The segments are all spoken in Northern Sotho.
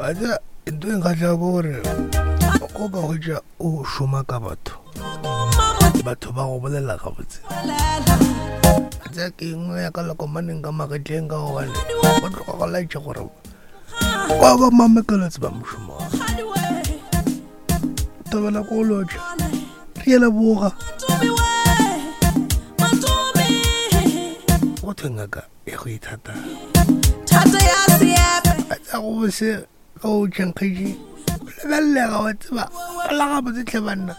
A tseba ntho e nkgahlago ke gore go ka hwetša o šoma ka batho batho ba go bolela gabotse a tseba ke engwe ya ka lekomaneng ka magetleng ka gobane go tloga go laetša gore kwa ba mamekelo tseba mošomo wa tobela ko lotšha re ye leboga go thwe ngaka ya go ithata a tsa go bose ge o tšhankgetše o lebelelega wa tseba o la gabotse tlhe banna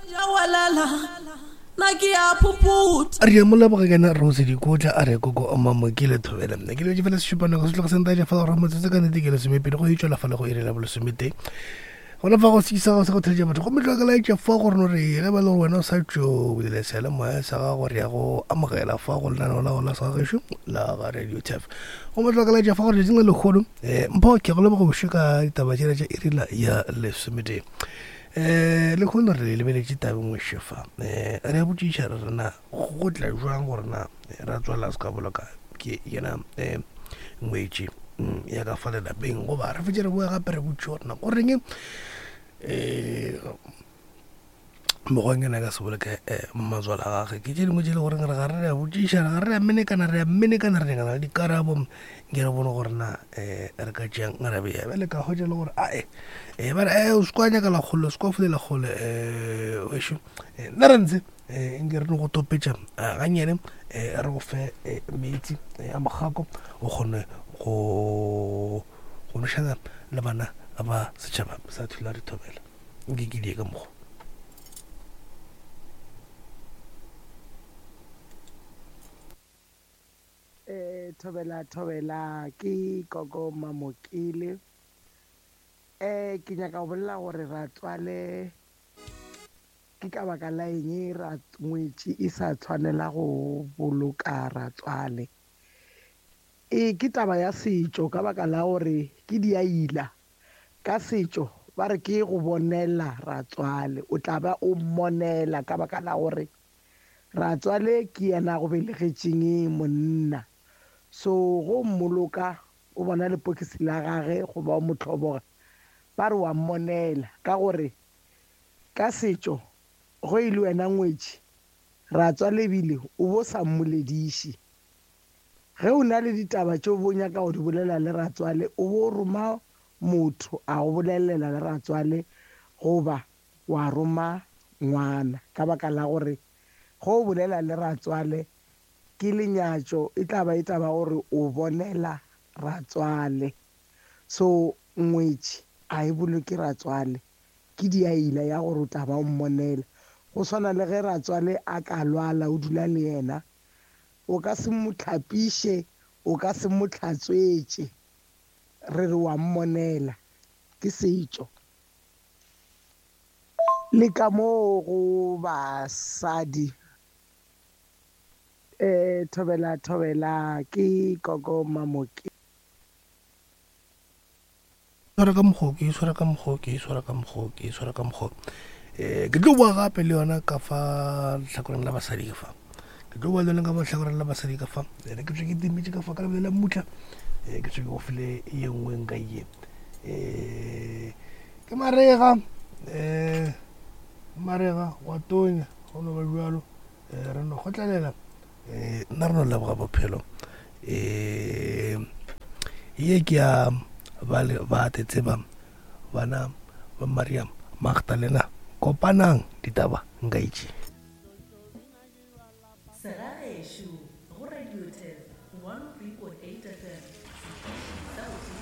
re ya mo leboga kena rose dikotla a re koko mamokile thobela nna ke lebetse fela sešupanako se tloga sentaja fa gore motsotso ka nnete ke lesomepedi go e tšwela fa le go iri la bolesometee Gona fa go sekisa gago sa go theletša batho gomme tloga ka laetša fa gore no re ge ba le gore wena o sa tšo bulela seyalemoya sa gago re ya go amogela fa go lenaneo la gona sa gešo la ga radio tef gomme tloga ka laetša fa gore letšatšing la lekgolo um mpho ke go leboga bošo ka ditaba tšela tša irila ya lesometee um lekgono re lebeletše tabeng ngwešo fa um re a botšiša re rena go tla jwang gore na ra tswala se ka boloka ke yena um ngwetši mm, ya ka fa lelapeng goba re fetse re boe gape re botše gore na goreng um mokgwanyana ka se boloke um matswala a gage ke tše dingwe tše le goreng re ga re re a botšiša re ga re a menekana re a menekana re nyakana le dikarabo nke re bone gore na um re ka tšeang ra beya bjale ka hwetša le gore ae um ba re e o se kwa nyaka lekgolo o se kwa fulela kgole um wešo nna re ntse um nke re no go topetša eh, gannyane um re go fe eh, metsi a mogako o kgone go go nošana le bana ba setšhaba sa thula re thobela nke ke die ka mokgwa Eh, thobela thobela ke koko mamokele eh ke nyaka go bolela gore ratswale Ke ka baka la eng ra ngwetši e sa tshwanela go boloka ratswale? E, ke taba ya setšo ka baka la gore ke diaila. Ka setšo ba re ke go bonela ratswale. O tla ba o mmonela ka baka la gore ratswale ke yena a go belegetšeng monna. So go mmoloka o bona lepokisi la gage goba o mo hloboga ba re wa mmonela ka gore Ka setšo, ge e le wena ngwetši, ratswale ebile o bo sa mmolediše. Ge o na le ditaba tše o bo nyaka go di bolela le ratswale, o bo roma motho a go bolelela le ratswale goba wa roma ngwana ka baka la gore ge o bolela le ratswale ke lenyatšo e tla ba e taba gore o bonela ratswale. So ngwetši a e boloke ratswale. Ke diaila ya gore o tla ba o mmonela. Go swana le ge ratswale a ka lwala o dula le yena, o ka se mo hlapiše, o ka se mo hlatswetše. Re re wa mmonela. Ke setšo. Le ka moo go basadi. Eh, thobela thobela ke Koko Mamoke. Swara ka mokgwa ke swara ka mokgwa ke swara ka mokgwa ke swara ka mokgwa um ke tlo boa gape le yona ka fa lehlakoreng la basadi ka fa ke tlo boa le yona ka fa lehlakoreng la basadi ka fa ene ke tswe ke timetše ka fa ka lebele la mmutla um ke tswe ke go file ye nngwe nka ye um ke marega um marega wa tonya go no ba jalo um re no kgotlelela um nna re no leboga bophelo um ye ke ya bale ba tseba bana ba Maria Magdalena kopanang ditaba nka itše. Segagešo go Radio 10 103.8 FM, setiši sa go.